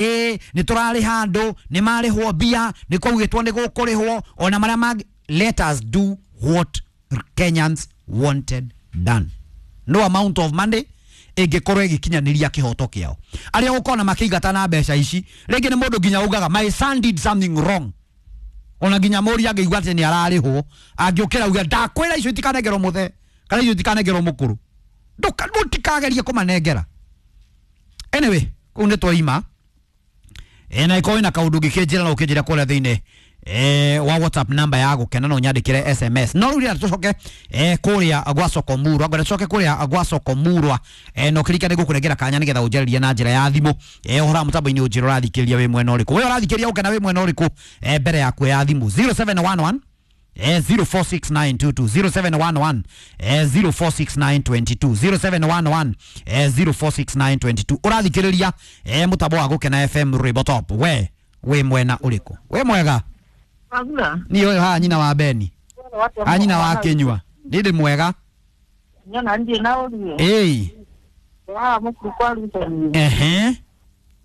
Nĩ tũrarĩha andũ, nĩ marĩhwo mbia, nĩ kwaugĩtwo nĩ gũkũrĩhwo ona marĩa mangĩ. Let us do what Kenyans wanted done. No amount of money ĩngĩkorwo ĩgĩkinyanĩria kĩhoto kĩao. Arĩa ũkona makĩingata na mbeca ici, rĩngĩ nĩ mũndũ nginya ugaga, "My son did something wrong." Ona nginya mũri angĩigua atĩ nĩ ararĩhwo, angĩũkĩra uge, "Ndakwĩra icio itikanengerwo mũthee kana icio itikanengerwo mũkũrũ, mũtikagerie kũmanengera." Anyway, kũu nĩ twaima. Na ikorwo wĩna kaũndũ ũngĩkĩnjĩra, no ũkĩnjĩra kũrĩa thĩinĩ wa WhatsApp number ya Gũkena, no nyandĩkĩre SMS. No rĩu rĩrĩa tũcoke kũrĩa gwa Soko Murwa, ngwenda tũcoke kũrĩa gwa Soko Murwa, na ũkĩririkane gũkũnengera kanya nĩgetha ũnjarĩrie na njĩra ya thimũ ũhoro wa mũtambo-inĩ, ũnjĩre ũrathikĩrĩria wĩ mwena ũrĩkũ, we ũrathikĩrĩria Gũkena wĩ mwena ũrĩkũ. Mbere ya kuoya thimũ, 0711 046922, 0711 046922, 0711 046922. Ũrathikĩrĩria mũtambo wa Gũkena FM, Rwĩmbo Top. We wĩ mwena ũrĩkũ? Wĩ mwega? Wagura. Niĩ ũyũ haha nyina wa Beni a nyina wa Kĩnyua, niĩ ndĩ mwega. Nyona ndiĩ na ũrie. Ĩĩ. Haha mũkuru kwa rutani.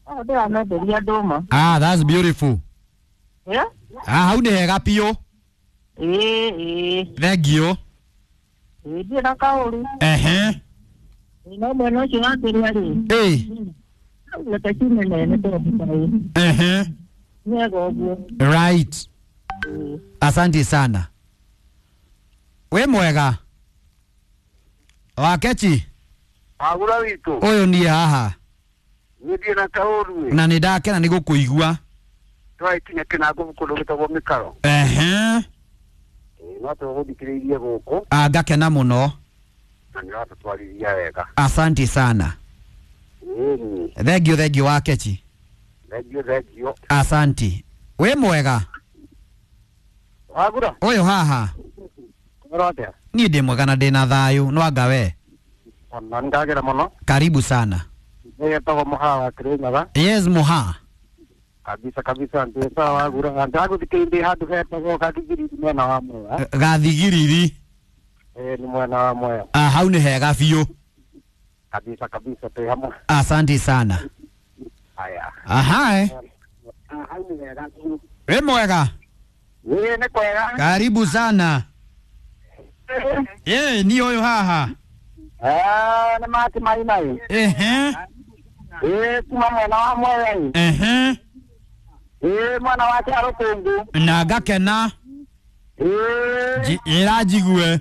Haha ndĩramenderia ndũma. Ah, that's beautiful. Eh? Ah, hau nĩ hega biũ. Ĩĩ ĩĩ. Thank you. Ĩĩ, ndiĩ na kaũru. No mwena ũcio wa kĩrĩa rĩ. Reke ciume nene tondũ kaĩ. Wega ũguo. Right. Ĩĩ. Asante sana. Wĩ mwega, Wakechi? Wagura witũ. Ũyũ niĩ haha. Niĩ ndiĩ na kaũru ĩ. Na nĩ ndakena nĩ gũkũigua. Twaikinya kĩnango kũndũ gĩtagwo mĩkaro. Ĩĩ, no tũgũthikĩrĩirie gũkũ. Ah, ngakena mũno. Na nĩ ũratũtwarithia wega. Asante sana. Ĩĩ. Thank you, thank you, Wakechi. Thengiũ, thengiũ. Asante. Wĩ mwega? Wagura. Ũyũ haha. Ũhoro atĩa? Niĩ ndĩ mwega na ndĩ na thayũ, no anga we? Ona nĩ ndagera mũno. Karibu sana. Nĩgetagwo Mũhaa wa Kĩrĩnyaga. Yes, Muha. Kabisa kabisa, ndĩ sawa, Wagura. Ndagũthikĩrĩria ndĩ handũ hetagwo Gathigiriri, mwena wa Mwea. Gathigiriri? Ĩĩ, nĩ mwena wa Mwea. Ah, hau nĩ hega biũ. Kabisa kabisa, twĩ hamwe. Asante sana. Haya. Aha, eh. Hau nĩ wega biũ. Wĩ mwega? Ĩĩ, nĩ kwega. Karibu sana. Ĩĩ, niĩ ũyũ haha. Eh, nĩ mati maina ĩ. Ĩĩ, kuma mwena wa Mwea ĩ. Ĩĩ, mwena wa Kĩarũkũngũ. Na ngakena. Ĩĩ. Ĩra njigue.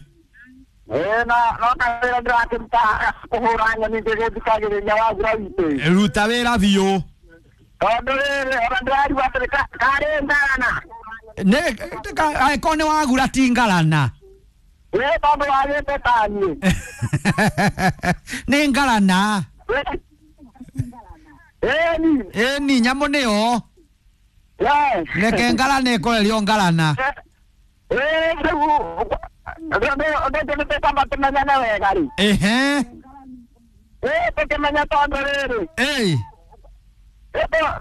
Ĩĩ, na no kawĩra ndĩrakĩruta kũhũra nyoni ngĩgĩthikagĩrĩria Wagura witũ ĩ. Ruta wĩra biũ. Tondũ rĩrĩ, ona ndĩrarigwo atĩrĩ, karĩ ngarana. Nĩ angĩkorwo nĩ wagura ti ngarana. Ĩĩ, tondũ wagĩte taniĩ. Nĩ ngarana. Ĩĩ ni. Ĩni nyamũ nĩyo. Yes. Reke ngarana ĩkorerio ngarana. Ĩĩ, rĩu ũndũ nĩtũkwamba tũmenyane wega rĩ. Ĩĩ, tũkĩmenya tondũ rĩrĩ.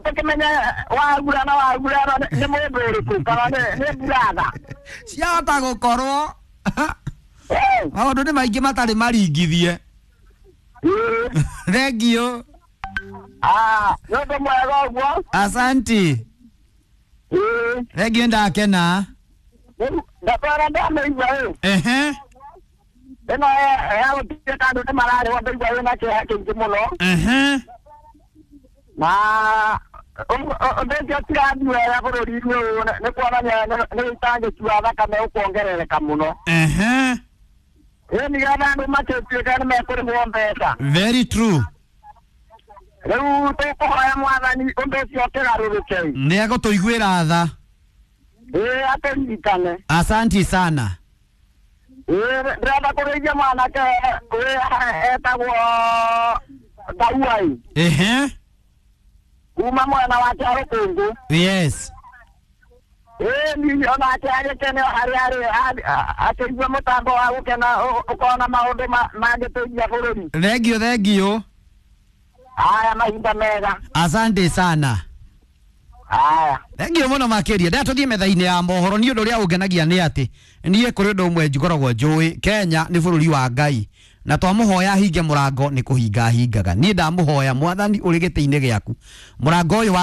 Tũkĩmenya Wagura na Wagura nĩ mũndũ ũrĩkũ kana nĩ buratha. Ciahota gũkorwo maũndũ nĩ maingĩ matarĩ maringithie. Thengiũ. Ah, nĩ ũndũ mwega ũguo. Asanti. Thengiũ, ndakena. Rĩu ndatwara ndamĩigua ĩ. Ĩno ya gũtuĩka andũ nĩ mararĩhwo, ndaigua wĩna kĩeha kĩingĩ mũno. Na ũndũ ũcio tirathiĩ wega bũrũri-inĩ ũyũ, nĩ kuonania nĩ ũitangĩki wa thakame ũkuongerereka mũno. Ĩ, nĩgetha andũ makĩtuĩka nĩ mekũrĩhwo mbeca. Very true. Rĩu tũkũhoya Mwathani ũndũ ũcio ũkĩgarũrũke. Nĩ egũtũiguĩra tha. Ĩĩ, atũririkane. Asanti sana. Ĩĩ, ndĩrenda kũrĩithia mwanake wĩ etagwo Ndauai kuma mwena wa Kĩarũkũngũ. Ĩĩ ni onake agĩkene harĩa arĩ akĩigua mũtambo wa Gũkena ũkona maũndũ mangĩteithia bũrũri. Thengiũ, thengiũ. Haya, mahinda mega. Asante sana. Haya. Thengiũ mũno makĩria. Ndĩa tũthiĩ metha-inĩ ya mohoro. Niĩ ũndũ ũrĩa ũngenagia nĩ atĩ niĩ kũrĩ ũndũ ũmwe ngoragwo njũĩ, Kenya nĩ bũrũri wa Ngai. Na twamuhoya hinge murango ni kuhinga hingaga. Niĩ ndamuhoya Mwathani ũrĩ gĩtĩ-inĩ gĩaku, mũrango ũyũ wa